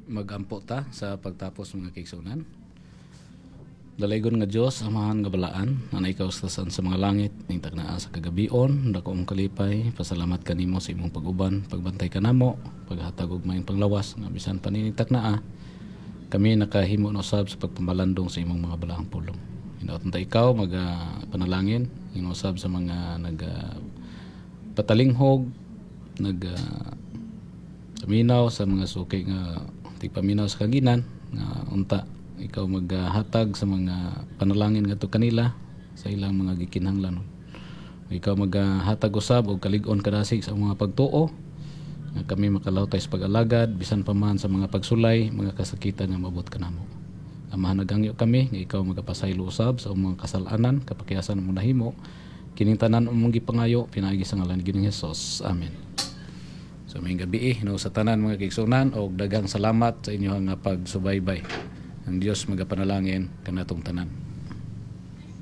Magampo ta sa pagtapos, mga kaigsuonan. Dalaygon nga Dios, Amahan nga balaan, nga ikaw sa sa mga langit, ning taknaa sa kagabion, dako mong kalipay, pasalamat kanimo sa imong pag-uban, pagbantay kanamo, paghatag og maayong panglawas, nga bisan pa nining taknaa, kami nakahimo na usab sa pagpamalandong sa imong mga balaang pulong. Hinaot ta ikaw maga panalangin, usab sa mga naga patalinghog, nag paminaw sa mga suki nga tigpaminaw sa kaginan, nga unta ikaw maghatag sa mga panalangin ngadto kanila sa ilang mga gikinahanglan. Ikaw maghatag usab og kalig-on kadasig sa mga pagtuo nga kami makalawtay sa pag-alagad bisan pa man sa mga pagsulay, mga kasakitan nga maabot kanamo. Amahan, naghangyo kami nga ikaw magapasaylo usab sa mga kasalanan kapakiyasan mo nahimo. Kining tanan among gipangayo pinaagi sa ngalan ni Ginoong Hesus. Amen. So maayong gabii no sa tanan, mga kaigsuonan, og daghang salamat sa inyong nga pagsubaybay. Ang Dios magapanalangin kanatong tanan.